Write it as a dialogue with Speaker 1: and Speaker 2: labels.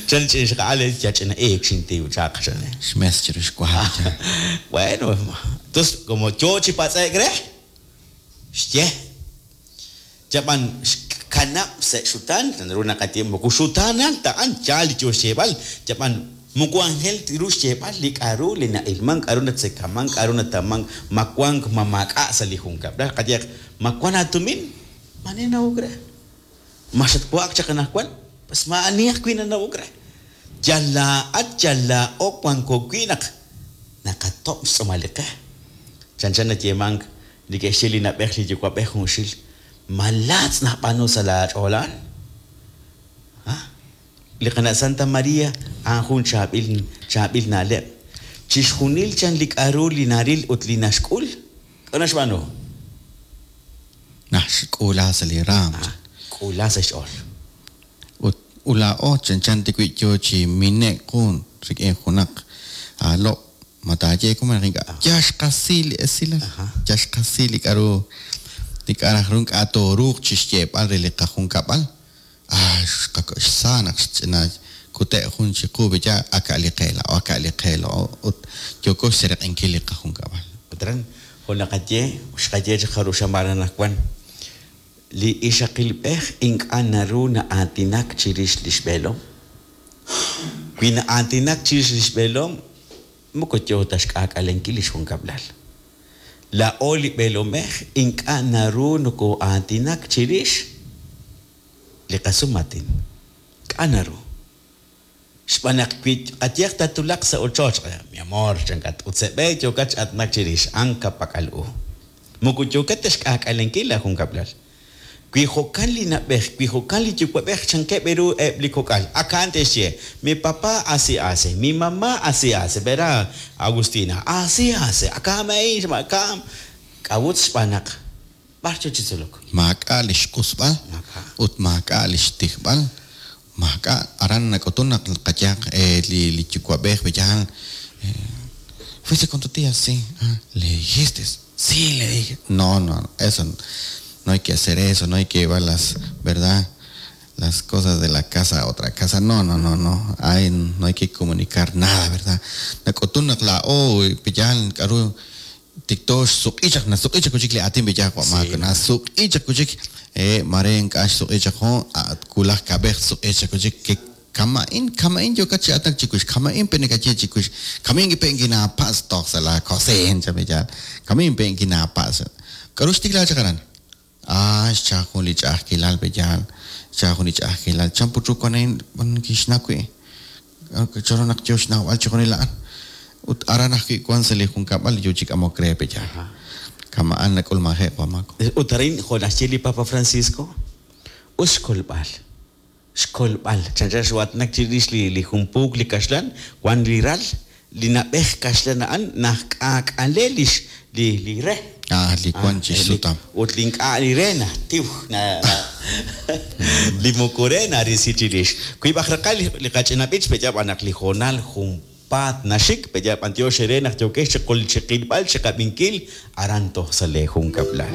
Speaker 1: Chan li ch'ina ixqa'al, ya ch'ina iik xintiw chaq, chan.
Speaker 2: Xmes chiru xwa.
Speaker 1: Bueno, entonces, como yo chi patz'e'k re, xye. Yab'an xkanab' sa' xutaan, naru naqaye moko xutaanal ta a'an, yaal li yo xyeeb'al, yab'an moko anjel ru xyeeb'al li k'a'ru li na'ilman, k'a'ru natzekaman, k'a'ru nataman, ma wank ma maak'a' sa' li junkab'lal. Qayehaq, ma wan aatumin? Maani nanawok re. Ma xatwa'ak chaq anaqwan? Pues maa'ani ajwi' nanawok re. Yal laa'at, yal laa'o wanko wi' naq naqatob' xtz'uumal li qe. Chanchan nayeemank li ke'xye li na'b'ej li yuwa'b'ej junxil, ma laatz' najb'aanu sa' laach'ool a'an? Li qana' Santa Maria a'an jun chaab'il chaab'il na'leb'. Chixjunil chan li k'a'ru li naril ut li naxk'ul, k'a'ru naxb'aanu?
Speaker 2: Naxk'uula sa' li raam.
Speaker 1: K'uula sa' xch'ool.
Speaker 2: Ut laa'o chanchan ta wi' yo chi mine'k qu rik'in junaq aalob', ma taaye we malaj ink'a'. Yal xqasi li esilal, yal xqasi li k'a'ru li k'a' raj ru ink'a' tooruuq chixyeeb'al re li qajunkab'al. Ah, xsa naq xch'ina kute' jun chiqu beya aka' li qe laa'o, aka' li qe laa'o ut yooko xsereq'inkil li qajunkab'al.
Speaker 1: Ut aran, jo' naqaye, xqaye chaq jarub' xamaan anaqwan, li ixaqilb'ej ink'a' naru na'aatinak chirix li xb'eelom. Wi na'aatinak chirix li xb'eelom, moko yo ta xk'aak'alenkil li xjunkab'lal. Laa'o li b'eelomej ink'a' naru nokoo'aatinak chirix li qasumaatin. K'a' naru. Xb'aan naq wi qayehaq tatwulaq sa' ochoch, mi amor, chankat, ut sa' b'e yookat chi aatinak chirix, a'an ka'pak'al u. Moko yookat ta xk'aak'alenkil laajunkab'lal. Wi jo'kan li na'b'ej, wi jo'kan li yuwa'b'ej, chankeb' ru eb' li kok'al. Ak a'an te'xye, mi papá así hace, mi mamá así hace, verá, Agustina, así hace, akam a'in, akam. K'a'ut xb'aan naq b'ar yo chi tzolok?
Speaker 2: Maak'a' li xq'usb'al
Speaker 1: Maak'a'.
Speaker 2: ut maak'a' li xtijb'al. Maak'a' aran nak'utun naq qayehaq li li yuwa'b'ej b'eyal fuiste con tu tía, sí. Ah, le dijiste, sí, le dije. No, no, eso no hay que hacer eso, no hay que llevar las, ¿verdad? Las cosas de la casa a otra casa. No, no, no, no. Ay, no hay que comunicar nada, ¿verdad? Nak'utun naq laa'o b'eyal k'a'ru tikto xsuq'ichaq nasuq'ichaq kuchik li aatin b'eyal wa' maak nasuq'ichaq kuchik mare ink'a' xsuq'ichaq jun kulaj kab'ej suq'ichaq kuchik ke kama'in kama'in yookat chi aatinak chiwix kama'in pe nakaye chiwix kama'in pe nkinaapatz' toj sa' la cocina chan b'eyal kama'in pe nkinaapatz'. K'a'ru xtikla chaq aran? Ah, xcha jun li ch'a'ajkilal b'eyal, xcha jun li ch'a'ajkilal. Chan put ru wan a'in kixnaw wi'. Chanru naq yo xnawb'al chixjunil a'an. Ut aran ajwi' wan sa' li junkab'al yo chi k'amok re b'eyal. Kama'an nak'ulmanje'k wa' Maako.
Speaker 1: Ut arin jo' naxye li Papa Francisco, us xkolb'al. Xkolb'al. Chanchan xwa'atnak chirix li li jun puuk li kaxlan, wan li ral, li na'b'ej kaxlan a'an najk'aak'ale lix li li re.
Speaker 2: Ah, li wan chi xsutam.
Speaker 1: Ut li ink'a' li re najtiw na li moko re narisi chirix. Wiib' aj raqal li qach'ina b'ich pe'yaal b'an naq li hoonal junpaat naxik, pe'yaal b'antiox eere naq yookex chi qilb'al chi qab'inkil aran toj sa' lee junkab'lal.